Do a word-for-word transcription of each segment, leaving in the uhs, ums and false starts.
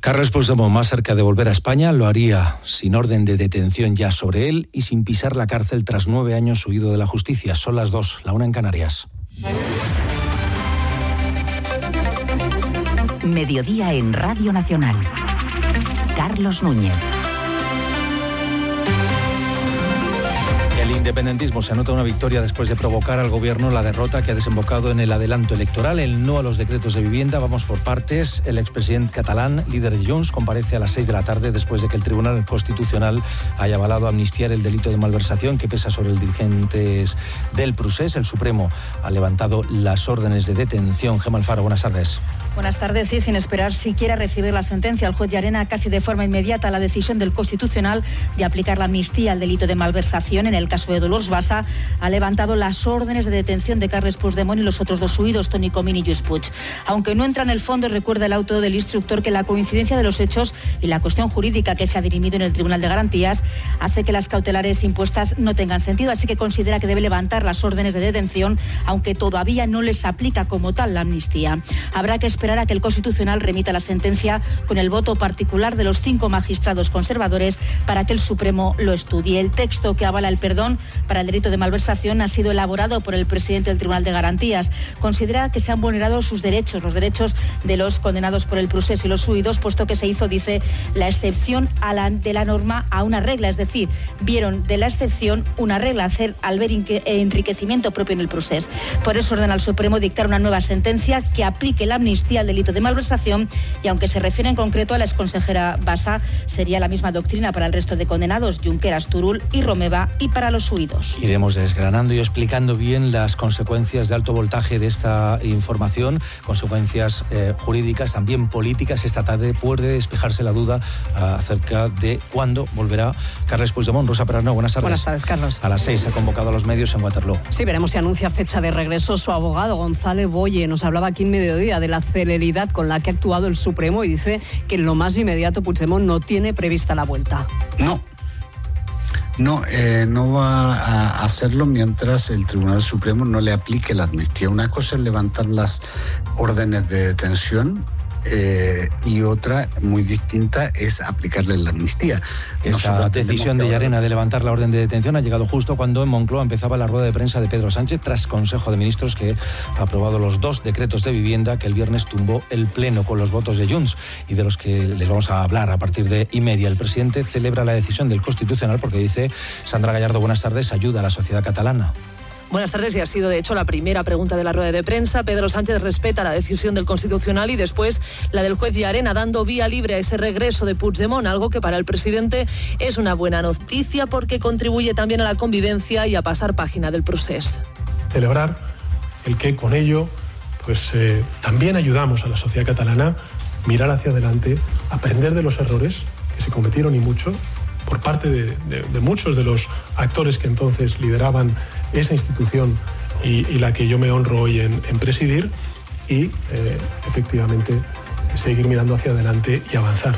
Carles Puigdemont, más cerca de volver a España, lo haría sin orden de detención ya sobre él y sin pisar la cárcel tras nueve años huido de la justicia. Son las dos, la una en Canarias. Mediodía en Radio Nacional. Carlos Núñez. El independentismo se anota una victoria después de provocar al gobierno la derrota que ha desembocado en el adelanto electoral, el no a los decretos de vivienda. Vamos por partes. El expresidente catalán, líder de Junts, comparece a las seis de la tarde después de que el Tribunal Constitucional haya avalado amnistiar el delito de malversación que pesa sobre los dirigentes del Procés. El Supremo ha levantado las órdenes de detención. Gemma Alfaro, buenas tardes. Buenas tardes. Sí, sin esperar siquiera recibir la sentencia, el juez Llarena casi de forma inmediata la decisión del Constitucional de aplicar la amnistía al delito de malversación en el caso de Dolors Bassa ha levantado las órdenes de detención de Carles Puigdemont y los otros dos huidos, Toni Comín y Lluís Puig. Aunque no entra en el fondo, recuerda el auto del instructor que la coincidencia de los hechos y la cuestión jurídica que se ha dirimido en el Tribunal de Garantías hace que las cautelares impuestas no tengan sentido, así que considera que debe levantar las órdenes de detención, aunque todavía no les aplica como tal la amnistía. Habrá que esperar a que el Constitucional remita la sentencia con el voto particular de los cinco magistrados conservadores para que el Supremo lo estudie. El texto que avala el perdón para el delito de malversación ha sido elaborado por el presidente del Tribunal de Garantías. Considera que se han vulnerado sus derechos, los derechos de los condenados por el Procés y los huidos, puesto que se hizo, dice, la excepción a la, de la norma a una regla, es decir, vieron de la excepción una regla, hacer al ver enriquecimiento propio en el Procés. Por eso ordena al Supremo dictar una nueva sentencia que aplique la amnistía al delito de malversación, y aunque se refiere en concreto a la exconsejera Bassa, sería la misma doctrina para el resto de condenados, Junqueras, Turull y Romeva, y para los huidos. Iremos desgranando y explicando bien las consecuencias de alto voltaje de esta información, consecuencias eh, jurídicas, también políticas. Esta tarde puede despejarse la duda uh, acerca de cuándo volverá Carles Puigdemont. Rosa Perarnau, buenas tardes. Buenas tardes, Carlos. A las seis ha convocado a los medios en Waterloo. Sí, veremos si anuncia fecha de regreso. Su abogado, González Boye, nos hablaba aquí en Mediodía de la celeridad con la que ha actuado el Supremo y dice que en lo más inmediato Puigdemont no tiene prevista la vuelta. No. No, eh, no va a hacerlo mientras el Tribunal Supremo no le aplique la amnistía. Una cosa es levantar las órdenes de detención eh, y otra muy distinta es aplicarle la amnistía. Esa Nosotros decisión de Llarena de levantar la orden de detención ha llegado justo cuando en Moncloa empezaba la rueda de prensa de Pedro Sánchez tras Consejo de Ministros, que ha aprobado los dos decretos de vivienda que el viernes tumbó el Pleno con los votos de Junts y de los que les vamos a hablar a partir de y media. El presidente celebra la decisión del Constitucional porque dice, Sandra Gallardo, buenas tardes, ayuda a la sociedad catalana. Buenas tardes, y ha sido de hecho la primera pregunta de la rueda de prensa. Pedro Sánchez respeta la decisión del Constitucional y después la del juez Llarena, dando vía libre a ese regreso de Puigdemont, algo que para el presidente es una buena noticia porque contribuye también a la convivencia y a pasar página del Procés. Celebrar el que con ello pues eh, también ayudamos a la sociedad catalana a mirar hacia adelante, aprender de los errores que se cometieron y mucho, por parte de, de, de muchos de los actores que entonces lideraban esa institución y, y la que yo me honro hoy en, en presidir, y eh, efectivamente seguir mirando hacia adelante y avanzar.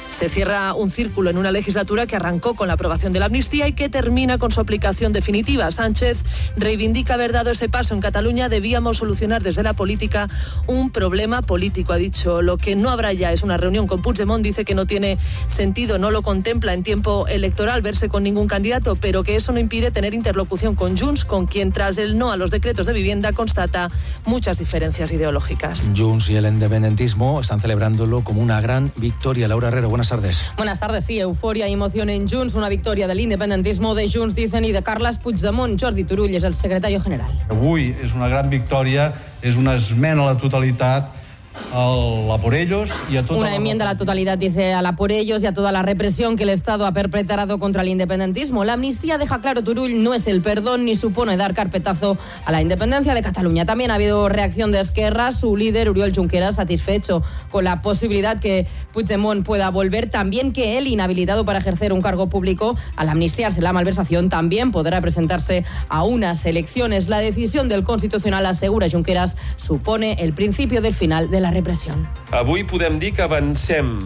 Se cierra un círculo en una legislatura que arrancó con la aprobación de la amnistía y que termina con su aplicación definitiva. Sánchez reivindica haber dado ese paso en Cataluña. Debíamos solucionar desde la política un problema político, ha dicho. Lo que no habrá ya es una reunión con Puigdemont. Dice que no tiene sentido, no lo contempla en tiempo electoral verse con ningún candidato, pero que eso no impide tener interlocución con Junts, con quien tras el no a los decretos de vivienda constata muchas diferencias ideológicas. Junts y el independentismo están celebrándolo como una gran victoria. Laura Herrero, buenas tardes. Buenas tardes, sí, euforia y emoción en Junts, una victoria del independentismo de Junts, dicen, y de Carles Puigdemont. Jordi Turull és el secretari general. Avui és una gran victòria, és una esmena a la totalitat a por ellos y a toda Una la enmienda a la totalidad, dice, a la por ellos y a toda la represión que el Estado ha perpetrado contra el independentismo. La amnistía, deja claro Turull, no es el perdón ni supone dar carpetazo a la independencia de Cataluña. También ha habido reacción de Esquerra, su líder Oriol Junqueras satisfecho con la posibilidad que Puigdemont pueda volver, también que él, inhabilitado para ejercer un cargo público, al amnistiarse la malversación, también podrá presentarse a unas elecciones. La decisión del Constitucional, asegura Junqueras, supone el principio del final de la repressió. Avui podem dir que avancem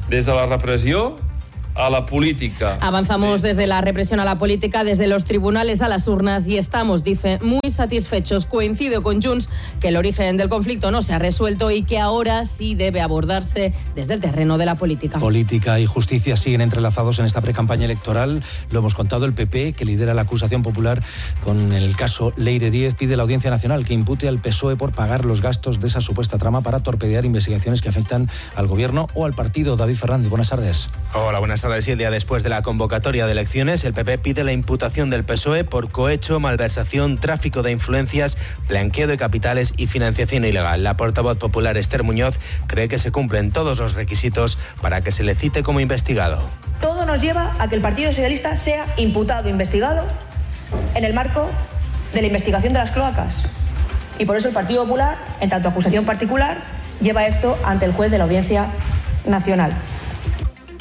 des de la repressió a la política. Avanzamos desde la represión a la política, desde los tribunales a las urnas y estamos, dice, muy satisfechos. Coincido con Junts que el origen del conflicto no se ha resuelto y que ahora sí debe abordarse desde el terreno de la política. Política y justicia siguen entrelazados en esta precampaña electoral. Lo hemos contado, el P P, que lidera la acusación popular con el caso Leire Díez, pide a la Audiencia Nacional que impute al P S O E por pagar los gastos de esa supuesta trama para torpedear investigaciones que afectan al gobierno o al partido. David Fernández, buenas tardes. Hola, buenas tardes. Y el día después de la convocatoria de elecciones, el P P pide la imputación del P S O E por cohecho, malversación, tráfico de influencias, blanqueo de capitales y financiación ilegal. La portavoz popular Esther Muñoz cree que se cumplen todos los requisitos para que se le cite como investigado. Todo nos lleva a que el Partido Socialista sea imputado, investigado, en el marco de la investigación de las cloacas. Y por eso el Partido Popular, en tanto acusación particular, lleva esto ante el juez de la Audiencia Nacional.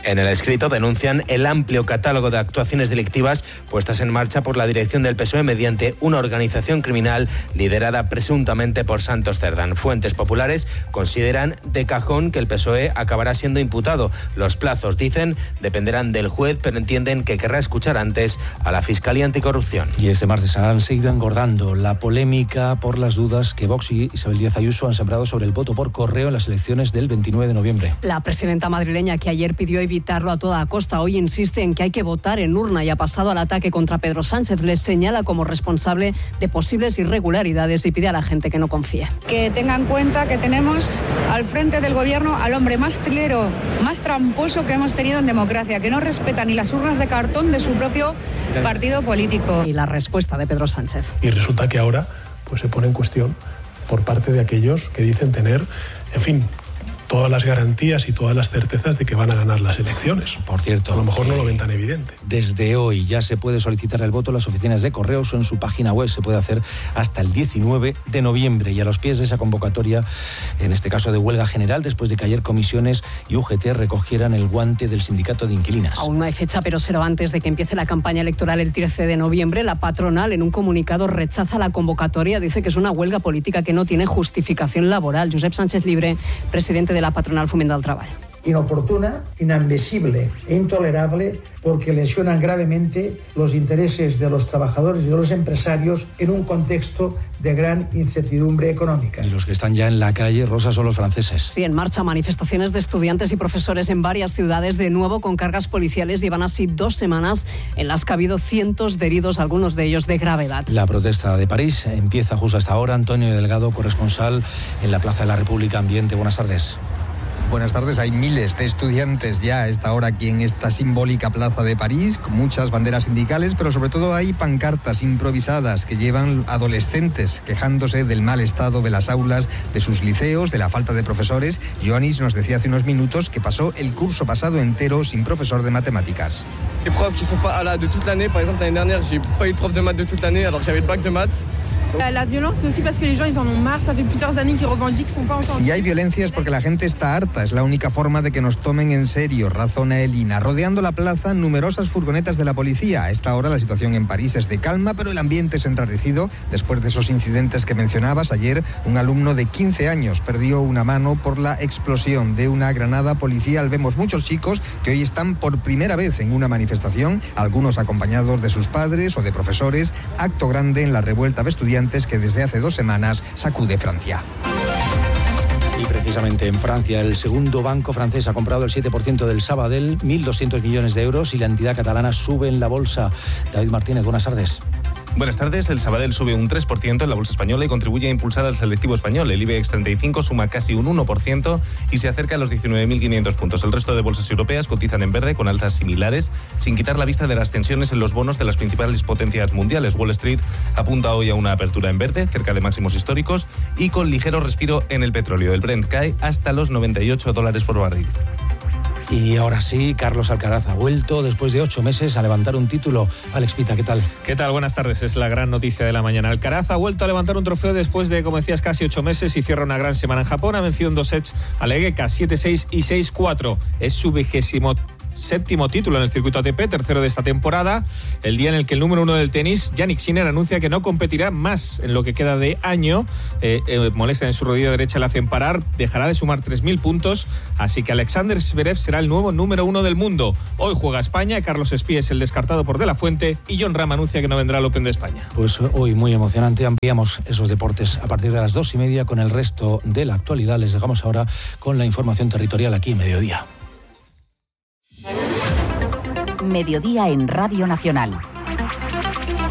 En el escrito denuncian el amplio catálogo de actuaciones delictivas puestas en marcha por la dirección del P S O E mediante una organización criminal liderada presuntamente por Santos Cerdán. Fuentes populares consideran de cajón que el P S O E acabará siendo imputado. Los plazos, dicen, dependerán del juez, pero entienden que querrá escuchar antes a la Fiscalía Anticorrupción. Y este martes han seguido engordando la polémica por las dudas que Vox y Isabel Díaz Ayuso han sembrado sobre el voto por correo en las elecciones del veintinueve de noviembre. La presidenta madrileña, que ayer pidió evitarlo a toda costa, hoy insiste en que hay que votar en urna y ha pasado al ataque contra Pedro Sánchez. Les señala como responsable de posibles irregularidades y pide a la gente que no confíe. Que tengan en cuenta que tenemos al frente del gobierno al hombre más trilero, más tramposo que hemos tenido en democracia, que no respeta ni las urnas de cartón de su propio partido político. Y la respuesta de Pedro Sánchez. Y resulta que ahora pues, se pone en cuestión por parte de aquellos que dicen tener, en fin, todas las garantías y todas las certezas de que van a ganar las elecciones. Por cierto, a lo mejor no lo ven tan evidente. Desde hoy ya se puede solicitar el voto en las oficinas de correos o en su página web. Se puede hacer hasta el diecinueve de noviembre y a los pies de esa convocatoria, en este caso de huelga general, después de que ayer comisiones y U G T recogieran el guante del sindicato de inquilinas. Aún no hay fecha, pero será antes de que empiece la campaña electoral el trece de noviembre. La patronal, en un comunicado, rechaza la convocatoria. Dice que es una huelga política que no tiene justificación laboral. Josep Sánchez Libre, presidente de la patronal Foment del Treball. Inoportuna, inadmisible e intolerable porque lesionan gravemente los intereses de los trabajadores y de los empresarios en un contexto de gran incertidumbre económica. Y los que están ya en la calle, Rosa, son los franceses. Sí, en marcha manifestaciones de estudiantes y profesores en varias ciudades, de nuevo con cargas policiales. Llevan así dos semanas en las que ha habido cientos de heridos, algunos de ellos de gravedad. La protesta de París empieza justo hasta ahora. Antonio Delgado, corresponsal en la Plaza de la República Ambiente. Buenas tardes. Buenas tardes. Hay miles de estudiantes ya a esta hora aquí en esta simbólica plaza de París, con muchas banderas sindicales, pero sobre todo hay pancartas improvisadas que llevan adolescentes quejándose del mal estado de las aulas, de sus liceos, de la falta de profesores. Ioannis nos decía hace unos minutos que pasó el curso pasado entero sin profesor de matemáticas. Les profs qui sont pas là de toute l'année, par exemple l'année dernière, j'ai pas eu de prof de maths de toute l'année alors que j'avais le bac de maths. La violencia es aussi parce que les gens ils en ont marre, ça fait plusieurs années qu'ils revendiquent, sont pas entendus. Si hay violencia es porque la gente está harta, es la única forma de que nos tomen en serio, razona Elina. Rodeando la plaza, numerosas furgonetas de la policía. A esta hora la situación en París es de calma, pero el ambiente es enrarecido después de esos incidentes que mencionabas. Ayer un alumno de quince años perdió una mano por la explosión de una granada policial. Vemos muchos chicos que hoy están por primera vez en una manifestación, algunos acompañados de sus padres o de profesores. Acto grande en la revuelta de estudiantes que desde hace dos semanas sacude Francia. Y precisamente en Francia, el segundo banco francés ha comprado el siete por ciento del Sabadell, mil doscientos millones de euros, y la entidad catalana sube en la bolsa. David Martínez, buenas tardes. Buenas tardes. El Sabadell sube un tres por ciento en la bolsa española y contribuye a impulsar al selectivo español. El IBEX treinta y cinco suma casi un uno por ciento y se acerca a los diecinueve mil quinientos puntos. El resto de bolsas europeas cotizan en verde con alzas similares, sin quitar la vista de las tensiones en los bonos de las principales potencias mundiales. Wall Street apunta hoy a una apertura en verde, cerca de máximos históricos, y con ligero respiro en el petróleo. El Brent cae hasta los noventa y ocho dólares por barril. Y ahora sí, Carlos Alcaraz ha vuelto después de ocho meses a levantar un título. Alex Pita, ¿qué tal? ¿Qué tal? Buenas tardes. Es la gran noticia de la mañana. Alcaraz ha vuelto a levantar un trofeo después de, como decías, casi ocho meses y cierra una gran semana en Japón. Ha vencido en dos sets a Legeka, siete seis y seis cuatro. Es su vigésimo séptimo título en el circuito A T P, tercero de esta temporada, el día en el que el número uno del tenis, Jannik Sinner, anuncia que no competirá más en lo que queda de año. Eh, eh, molestia en su rodilla derecha le hacen parar, dejará de sumar tres mil puntos, así que Alexander Zverev será el nuevo número uno del mundo. Hoy juega España, Carlos Espí es el descartado por De La Fuente y Jon Rahm anuncia que no vendrá al Open de España. Pues hoy muy emocionante, ampliamos esos deportes a partir de las dos y media con el resto de la actualidad. Les dejamos ahora con la información territorial aquí en Mediodía. Mediodía en Radio Nacional.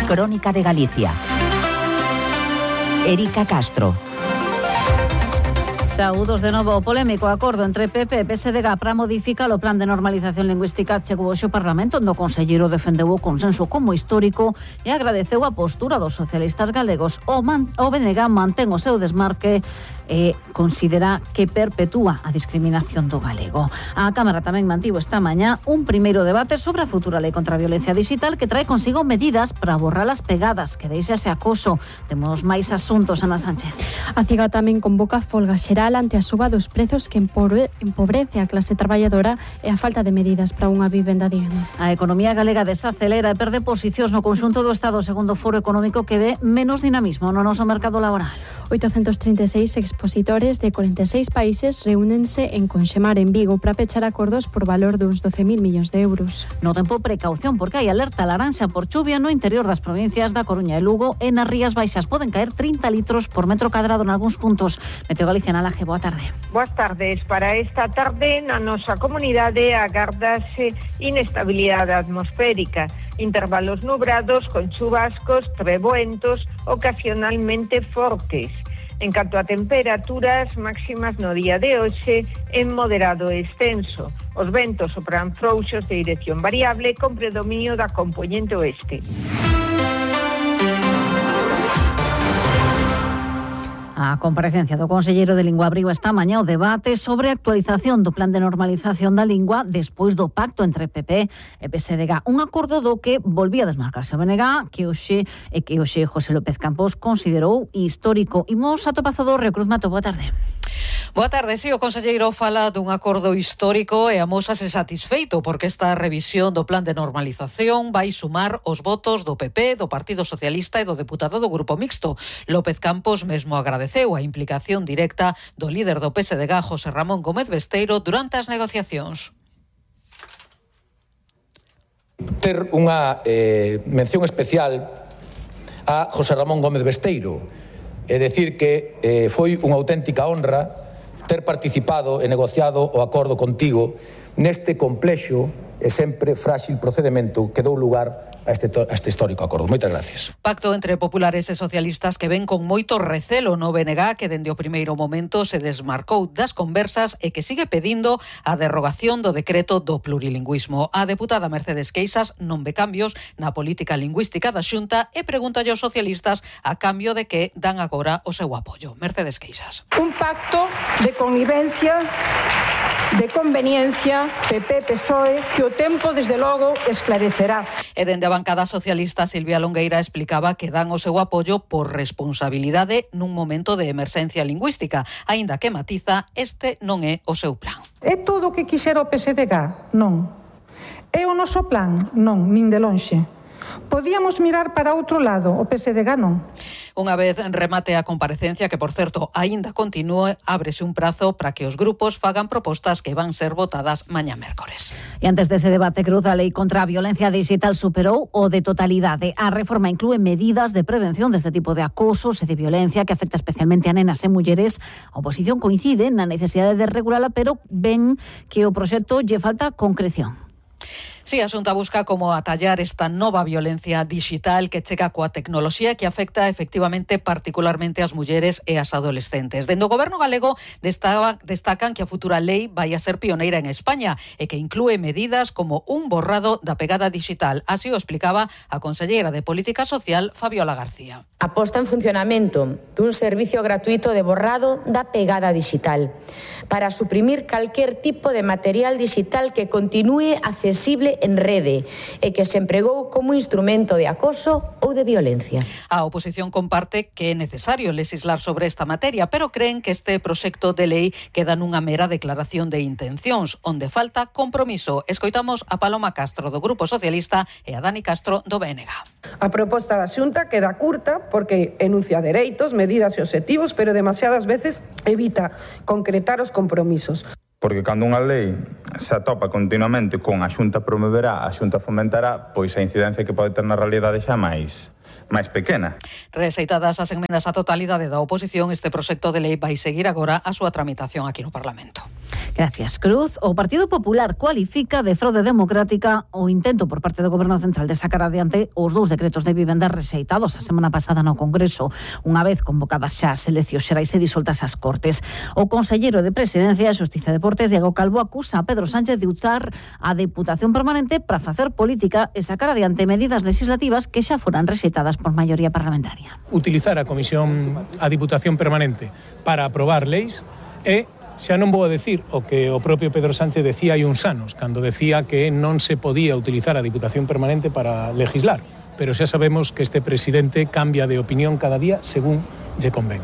Crónica de Galicia. Erika Castro. Saúdos de novo. O polémico acordo entre P P e P S D G para modificar o plan de normalización lingüística chegou hoxe ao Parlamento, onde o conselleiro defendeu o consenso como histórico e agradeceu a postura dos socialistas galegos. O, man, o B N G mantén o seu desmarque e considera que perpetúa a discriminación do galego. A Cámara tamén mantivo esta mañá un primeiro debate sobre a futura lei contra a violencia digital que trae consigo medidas para borrar as pegadas que deixa ese acoso. Temos máis asuntos, Ana Sánchez. A CIGA tamén convoca folga xeral ante a suba dos prezos que empobrece a clase traballadora e a falta de medidas para unha vivenda digna. A economía galega desacelera e perde posicións no conxunto do Estado, segundo o Foro Económico, que ve menos dinamismo no noso mercado laboral. oitocentos trinta e seis expositores de cuarenta e seis países reúnense en Conxemar, en Vigo, para pechar acordos por valor duns doce mil millóns de euros. No tempo, precaución, porque hai alerta laranxa por chuvia no interior das provincias da Coruña e Lugo e nas Rías Baixas. Poden caer trinta litros por metro cadrado en algúns puntos. Meteo Galicia, Nalaje, boa tarde. Boas tardes. Para esta tarde na nosa comunidade agardase inestabilidade atmosférica, intervalos nubrados con chubascos, treboentos ocasionalmente fortes. En canto a temperaturas máximas no día de hoxe, en moderado extenso. Os ventos sopran frouxos de dirección variable con predominio da compoñente oeste. A comparecencia do conselleiro de Lingua abriu esta mañá o debate sobre a actualización do plan de normalización da lingua despois do pacto entre P P e P S D G. Un acordo do que volvía a desmarcarse o B N G, que hoxe e que hoxe José López Campos considerou histórico. Imos a Topazo do Río Cruz. Mato, boa tarde. Boa tarde, si, o conselleiro fala dun acordo histórico e amósase satisfeito porque esta revisión do plan de normalización vai sumar os votos do P P, do Partido Socialista e do deputado do Grupo Mixto. López Campos mesmo agradeceu a implicación directa do líder do P S D G, José Ramón Gómez Besteiro, durante as negociacións. Ter unha eh, mención especial a José Ramón Gómez Besteiro. É dicir que eh, foi unha auténtica honra ter participado e negociado o acordo contigo neste complexo e sempre frágil procedimento que dou lugar a este, a este histórico acordo. Moitas gracias. Pacto entre populares e socialistas que ven con moito recelo no B N G, que dende o primeiro momento se desmarcou das conversas e que sigue pedindo a derrogación do decreto do plurilingüismo. A deputada Mercedes Queixas non ve cambios na política lingüística da Xunta e pregunta aos socialistas a cambio de que dan agora o seu apoio. Mercedes Queixas. Un pacto de convivencia, de conveniencia, P P P S O E, que o tempo, desde logo, esclarecerá. E dende a bancada socialista, Silvia Longueira explicaba que dan o seu apoio por responsabilidade nun momento de emerxencia lingüística, aínda que matiza, este non é o seu plan. É todo o que quixera o P S D G? Non. É o noso plan? Non, nin de lonxe. Podíamos mirar para outro lado, o P S D G non. Unha vez remate a comparecencia, que por certo aínda continúe, ábrese un prazo para que os grupos fagan propostas que van ser votadas mañá mércores. E antes dese debate cruz, a lei contra a violencia digital superou o de totalidade. A reforma inclúe medidas de prevención deste tipo de acosos e de violencia que afecta especialmente a nenas e mulleres. A oposición coincide na necesidade de regulala, pero ven que o proxecto lle falta concreción. Si, a Xunta busca como atallar esta nova violencia digital que chega coa tecnoloxía que afecta efectivamente particularmente as mulleres e as adolescentes. Dende o Goberno galego destacan que a futura lei vai a ser pioneira en España e que inclúe medidas como un borrado da pegada digital. Así o explicaba a conselleira de Política Social, Fabiola García. A posta en funcionamento dun servicio gratuito de borrado da pegada digital para suprimir calquer tipo de material digital que continúe accesible posible en rede e que se empregou como instrumento de acoso ou de violencia. A oposición comparte que é necesario legislar sobre esta materia, pero creen que este proxecto de lei queda nunha mera declaración de intencións, onde falta compromiso. Escoitamos a Paloma Castro do Grupo Socialista e a Dani Castro do B N G. A proposta da Xunta queda curta porque enuncia dereitos, medidas e obxectivos, pero demasiadas veces evita concretar os compromisos. Porque cando unha lei se atopa continuamente con a Xunta promoverá, a Xunta fomentará, pois a incidencia que pode ter na realidade xa máis máis pequena. Rexeitadas as enmendas á totalidade da oposición, este proxecto de lei vai seguir agora a súa tramitación aquí no Parlamento. Gracias, Cruz. O Partido Popular cualifica de fraude democrática o intento por parte do Goberno Central de sacar adiante os dous decretos de vivenda rexeitados a semana pasada no Congreso, unha vez convocadas xa as eleccións xerais e disoltas as Cortes. O conselleiro de Presidencia, Xustiza e Deportes, Diego Calvo, acusa a Pedro Sánchez de usar a Deputación Permanente para facer política e sacar adiante medidas legislativas que xa foran rexeitadas por maioría parlamentaria. Utilizar a Comisión, a Diputación Permanente para aprobar leis e xa non vou a decir o que o propio Pedro Sánchez decía hai uns anos, cando decía que non se podía utilizar a Diputación Permanente para legislar, pero xa sabemos que este presidente cambia de opinión cada día según lle convén.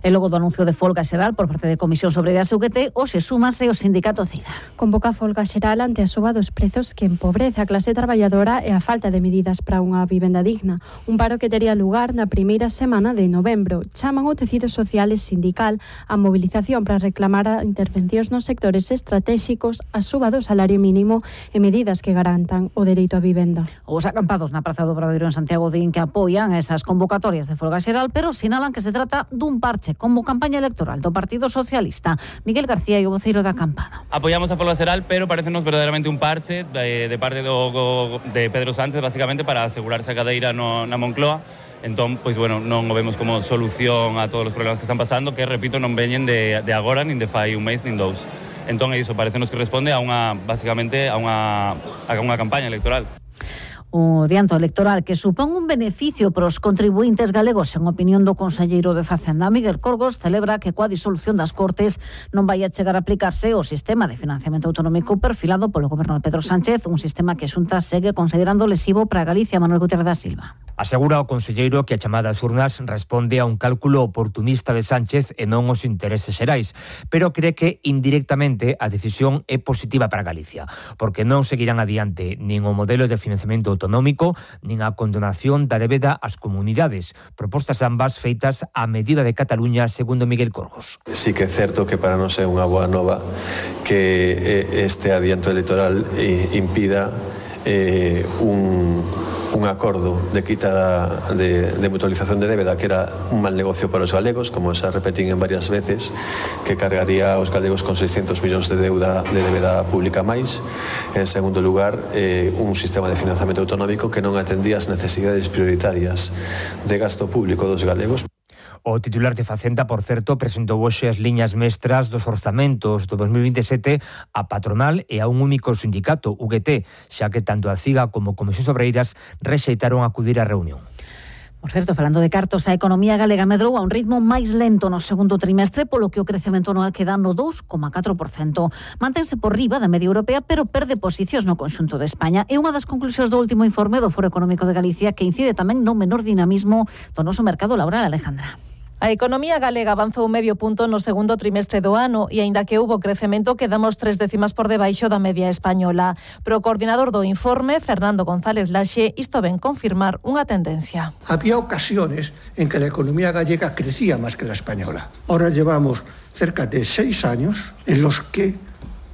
E logo do anuncio de folga xeral por parte de Comisións Obreiras e U G T, hoxe súmase o sindicato CIDA. Convoca folga xeral ante a suba dos prezos que empobrece a clase traballadora e a falta de medidas para unha vivenda digna. Un paro que tería lugar na primeira semana de novembro. Chaman o tecido social e sindical a mobilización para reclamar a intervencións nos sectores estratéxicos, a suba do salario mínimo e medidas que garantan o dereito á vivenda. Os acampados na Praza do Obradoiro en Santiago din que apoian esas convocatorias de folga xeral, pero sinalan que se trata dun parche como campaña electoral do Partido Socialista. Miguel García e o voceiro da acampada. Apoiamos a folga xeral, pero parecenos verdadeiramente un parche de, de parte do, de Pedro Sánchez, basicamente para asegurarse a cadeira no, na Moncloa. Entón, pois, bueno, non o vemos como solución a todos os problemas que están pasando, que, repito, non veñen de, de agora, nin de fai un mes, nin dous. Entón, é iso, parecenos que responde a unha, basicamente, a unha, a unha campaña electoral. O dianto electoral que supón un beneficio para os contribuintes galegos, en opinión do conselleiro de Facenda, Miguel Corgos, celebra que coa disolución das Cortes non vai a chegar a aplicarse o sistema de financiamento autonómico perfilado polo goberno de Pedro Sánchez, un sistema que a Xunta segue considerando lesivo para Galicia. Manuel Gutiérrez da Silva. Asegura o conselleiro que a chamada ás urnas responde a un cálculo oportunista de Sánchez e non os intereses xerais, pero cree que indirectamente a decisión é positiva para Galicia, porque non seguirán adiante nin o modelo de financiamento autonómico, nin a condonación da débeda ás comunidades, propostas ambas feitas a medida de Cataluña, segundo Miguel Corgos. Sí que é certo que para non ser unha boa nova que este adianto electoral impida eh, un... un acordo de quita de, de mutualización de débeda que era un mal negocio para os galegos, como xa repetín en varias veces, que cargaría aos galegos con seiscentos millóns de deuda de débeda pública máis. En segundo lugar, eh, un sistema de financiamento autonómico que non atendía as necesidades prioritarias de gasto público dos galegos. O titular de Facenda, por certo, presentou hoxe as liñas mestras dos orzamentos do dos mil vinte e sete a patronal e a un único sindicato, U G T, xa que tanto a CIGA como Comisións Obreiras rexeitaron acudir á reunión. Por certo, falando de cartos, a economía galega medrou a un ritmo máis lento no segundo trimestre, polo que o crecemento anual queda no dous coma catro por cento. Mantense por riba da media europea, pero perde posicións no conxunto de España. É unha das conclusións do último informe do Foro Económico de Galicia, que incide tamén no menor dinamismo do noso mercado laboral. Alejandra. A economía galega avanzou medio punto no segundo trimestre do ano e, aínda que houbo crecemento, quedamos tres décimas por debaixo da media española. Pero o coordinador do informe, Fernando González Laxe, isto ven confirmar unha tendencia. Había ocasiones en que la economía gallega crecía más que la española. Ahora llevamos cerca de seis años en los que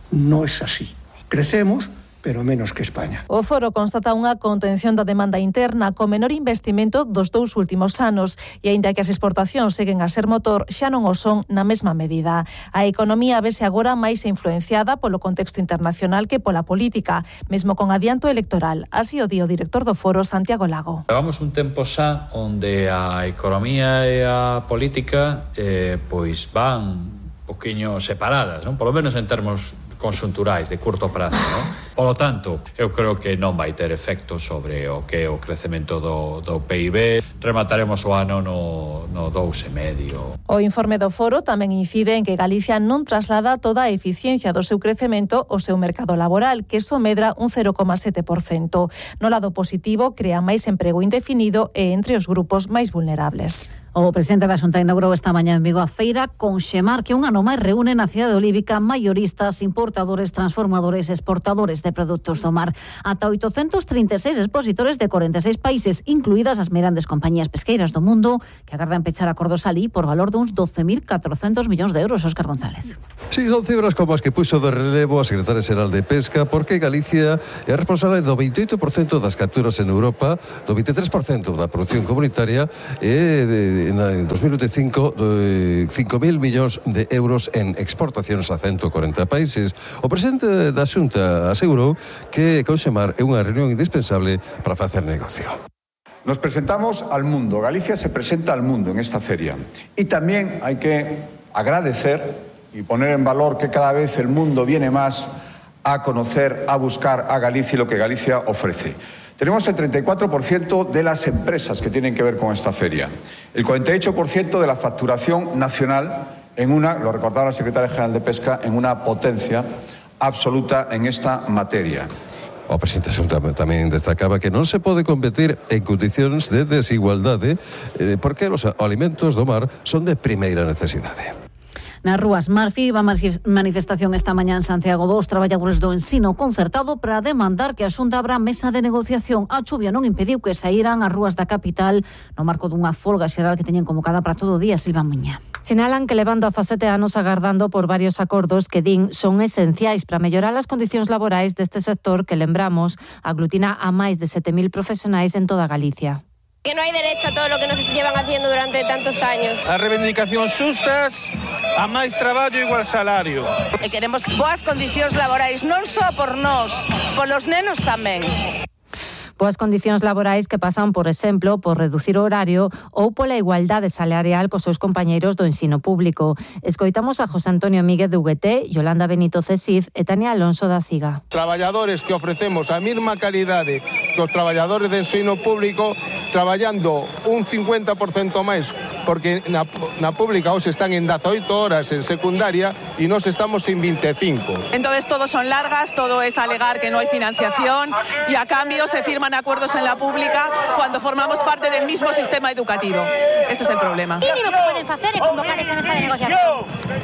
no es así. Crecemos, pero menos que España. O foro constata unha contención da demanda interna co menor investimento dos dous últimos anos e, aínda que as exportacións seguen a ser motor, xa non o son na mesma medida. A economía vese agora máis influenciada polo contexto internacional que pola política, mesmo con adianto electoral. Así o di o director do foro, Santiago Lago. Levamos un tempo xa onde a economía e a política eh, pois van un poquinho separadas, non? Polo menos en termos conxunturais, de curto prazo, non? Por lo tanto, eu creo que non vai ter efecto sobre o que é o crecemento do, do P I B. Remataremos o ano no, no dous e medio. O informe do foro tamén incide en que Galicia non traslada toda a eficiencia do seu crecemento ao seu mercado laboral, que só medra un cero coma sete por cento. No lado positivo, crea máis emprego indefinido e entre os grupos máis vulnerables. O presidente da Xunta inaugurou esta mañá en Vigo a feira Conxemar, que un ano máis reúne na cidade olívica maioristas, importadores, transformadores, exportadores de produtos do mar. Ata oitocentos trinta e seis expositores de corenta e seis países, incluídas as grandes compañías pesqueiras do mundo, que agardan pechar acordos alí por valor duns doce mil catrocentos millóns de euros. Óscar González. Sí, son cifras como as que puxo de relevo a secretaria xeral de Pesca, porque Galicia é responsable do veintioito por cento das capturas en Europa, do veintitrés por cento da produción comunitaria e de en dos mil veinticinco cinco mil millóns de euros en exportacións a ciento cuarenta países. O presidente da Xunta asegurou que Conxemar é unha reunión indispensable para facer negocio. Nos presentamos al mundo, Galicia se presenta al mundo en esta feria. Y también hay que agradecer y poner en valor que cada vez el mundo viene más a conocer, a buscar a Galicia y lo que Galicia ofrece. Tenemos el treinta y cuatro por ciento de las empresas que tienen que ver con esta feria, el cuarenta y ocho por ciento de la facturación nacional en una, lo recordaba la secretaria general de Pesca, en una potencia absoluta en esta materia. O presidente Xunta tamén destacaba que non se pode competir en condicións de desigualdade eh, porque os alimentos do mar son de primeira necesidade. Nas rúas Marfi, va manifestación esta mañá en Santiago dos traballadores do ensino concertado para demandar que a Xunta abra mesa de negociación. A chuvia non impediu que saíran as rúas da capital no marco dunha folga xeral que teñen convocada para todo o día. Silva Muña. Sinalan que levando dezasete anos agardando por varios acordos que din son esenciais para mellorar as condicións laborais deste sector que, lembramos, aglutina a máis de sete mil profesionais en toda Galicia. Que no hay derecho a todo lo que nos llevan haciendo durante tantos años. A reivindicacións xustas, a máis traballo igual salario. E queremos boas condicións laborais, non só por nós, polos nenos tamén. Boas condicións laborais que pasan, por exemplo, por reducir o horario ou pola igualdade salarial cos seus compañeiros do ensino público. Escoitamos a José Antonio Míguez de U G T, Yolanda Benito Cesif e Tania Alonso da Ciga. Traballadores que ofrecemos a mesma calidade que os traballadores de ensino público, traballando un cincuenta por cento máis, porque na, na pública hoxe están en dezaoito horas en secundaria e nós estamos en veinticinco. Entonces todos son largas, todo es alegar que no hay financiación y a cambio se firman acuerdos en la pública cuando formamos parte del mismo sistema educativo. Ese es el problema. ¿Qué mínimo que pueden hacer es convocar esa mesa de negociación?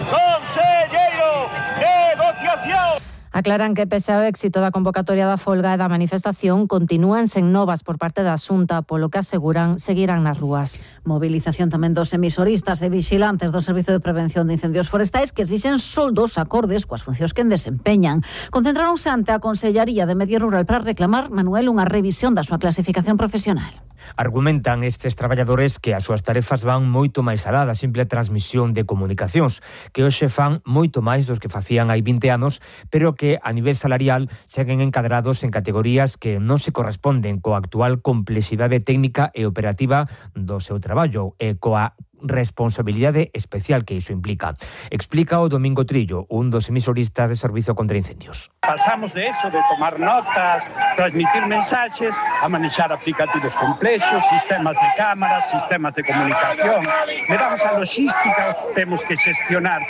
¡Consellero! ¡Negociación! Aclaran que pese ao éxito da convocatoria da folga e da manifestación continúan sen novas por parte da Xunta, polo que aseguran seguirán nas rúas. Movilización tamén dos emisoristas e vixilantes do Servizo de Prevención de Incendios Forestais que exixen soldos acordes coas funcións que desempeñan. Concentráronse ante a Consellaría de Medio Rural para reclamar, Manuel, unha revisión da súa clasificación profesional. Argumentan estes traballadores que as súas tarefas van moito máis alá da simple transmisión de comunicacións, que hoxe fan moito máis dos que facían hai vinte anos, pero que a nivel salarial seguen encadrados en categorías que non se corresponden coa actual complexidade técnica e operativa do seu traballo e coa responsabilidade especial que iso implica. Explica o Domingo Trillo, un dos emisoristas de Servizo contra Incendios. Pasamos de eso, de tomar notas, transmitir mensaxes, a manexar aplicativos complexos, sistemas de cámaras, sistemas de comunicación. Levamos a logística, temos que xestionar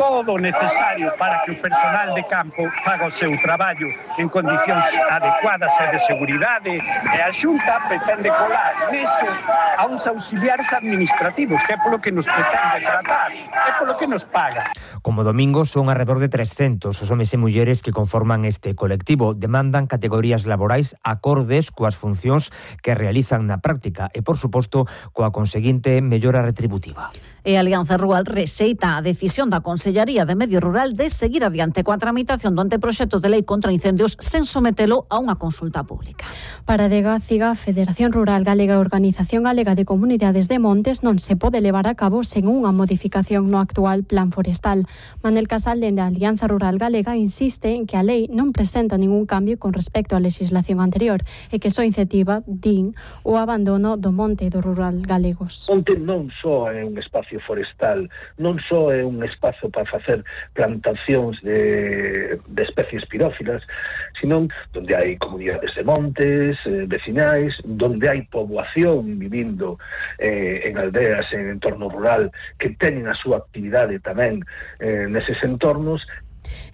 todo o necesario para que o personal de campo faga o seu traballo en condicións adecuadas e de seguridade, e a Xunta pretende colar neso a uns auxiliares administrativos, que é polo que nos pretende tratar, é polo que nos paga. Como Domingo son alrededor de trescentos os homes e mulleres que conforman este colectivo. Demandan categorías laborais acordes coas funcións que realizan na práctica e, por suposto, coa conseguinte mellora retributiva. E a Alianza Rural rexeita a decisión da Consellaría de Medio Rural de seguir adiante coa tramitación do anteproxecto de lei contra incendios sen sometelo a unha consulta pública. Para Degáciga, Federación Rural Galega e Organización Galega de Comunidades de Montes non se pode levar a cabo sen unha modificación no actual plan forestal. Manel Casal, dende a Alianza Rural Galega, insiste en que a lei non presenta ningún cambio con respecto á legislación anterior e que só incentiva, din, o abandono do monte e do rural galegos. Monte non só é un espacio espacio forestal non só é un espazo para facer plantacións de, de especies pirófilas, sino donde hai comunidades de montes, eh, vecinais, donde hai poboación vivindo eh, en aldeas, en entorno rural, que teñen a súa actividade tamén eh, neses entornos.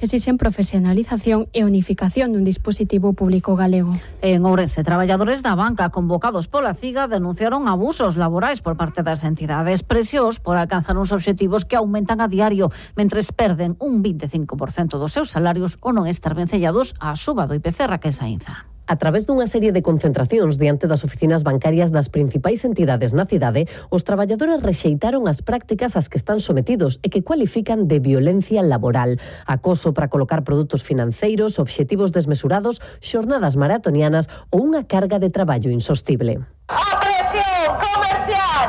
Exixen profesionalización e unificación dun dispositivo público galego. En Ourense, traballadores da banca convocados pola CIGA denunciaron abusos laborais por parte das entidades, presións por alcanzar uns obxectivos que aumentan a diario, mentres perden un veinticinco por cento dos seus salarios ou non estar vencellados á suba do I P C. Raquel Sainza. A través dunha serie de concentracións diante das oficinas bancarias das principais entidades na cidade, os traballadores rexeitaron as prácticas ás que están sometidos e que cualifican de violencia laboral. Acoso para colocar produtos financeiros, obxectivos desmesurados, xornadas maratonianas ou unha carga de traballo insostible. A presión comercial!